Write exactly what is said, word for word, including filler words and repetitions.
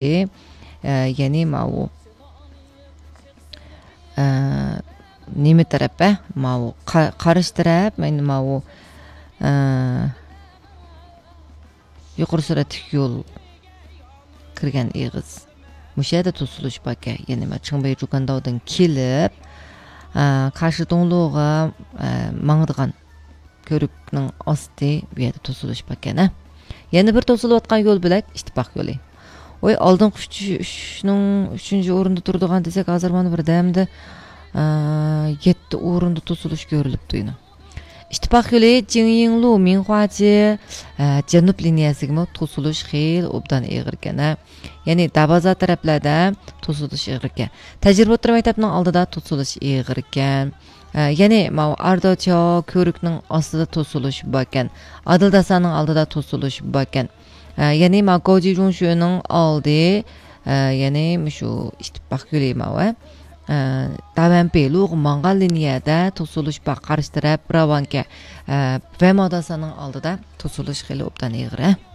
ئە، يەنى ماۋۇ، ئە، نېمە تەرەپ، ئە؟ ماۋۇ قا-، قارشى تەرەپ، يەنى ماۋۇ، ئە، يۇقىرى سۈرئەتلىك يول كىرگەن ئېغىز. مۇشۇ يەردە توسۇلۇش باركەن. يەنى مانا چىڭبېي جۇگەنداۋدىن كېلىپ، ئە، كاشىدوڭلۇغا، ئە، ماڭىدىغان كۆۋرۈكنىڭ ئاستى بۇ يەردە توسۇلۇش باركەن، ھە. يەنە بىر توسۇلۇۋاتقان يول بۆلەك ئىتتىپاق يولى. ۋاي، ئالدىنقى ئۈچ، ئۈچنىڭ ئۈچىنچى ئورۇندا تۇرىدىغان دېسەك، ھازىر مانا بىردەمدە، ئە، يەتتە ئورۇندا توسۇلۇش كۆرۈلۈپتۇ يەنە. ئىتتىپاق يولى جىڭيىڭلۇ مىڭخۇاجى، ئە، جەنۇب لىنىيەسىگىمۇ توسۇلۇش خېلى ئوبدان ئېغىركەن، ھە. يەنى دابازا تەرەپلەردە توسۇلۇش ئېغىركەن. تەجرىبە ئوتتۇرا مەكتەپنىڭ ئالدىدا توسۇلۇش ئېغىركەن. ئە، يەنى ماۋۇ ئارداچياۋ كۆۋرۈكنىڭ ئاستىدا توسۇلۇش باركەن. ئادىلداسانىڭ ئالدىدا توسۇلۇش باركەن. ئە، يەنى ماۋۇ گاۋجىجۇڭشۈنىڭ ئالدى، ئە، يەنى مۇشۇ ئىتتىپاق يولى ماۋۇ، ئە، داۋەنپى لۇغا ماڭغان لىنىيەدە توسۇلۇش بار، قارشى تەرەپ راۋانكە، ئە، ۋەماداسانىڭ ئالدىدا توسۇلۇش خېلى ئوبدان ئېغىر، ھە.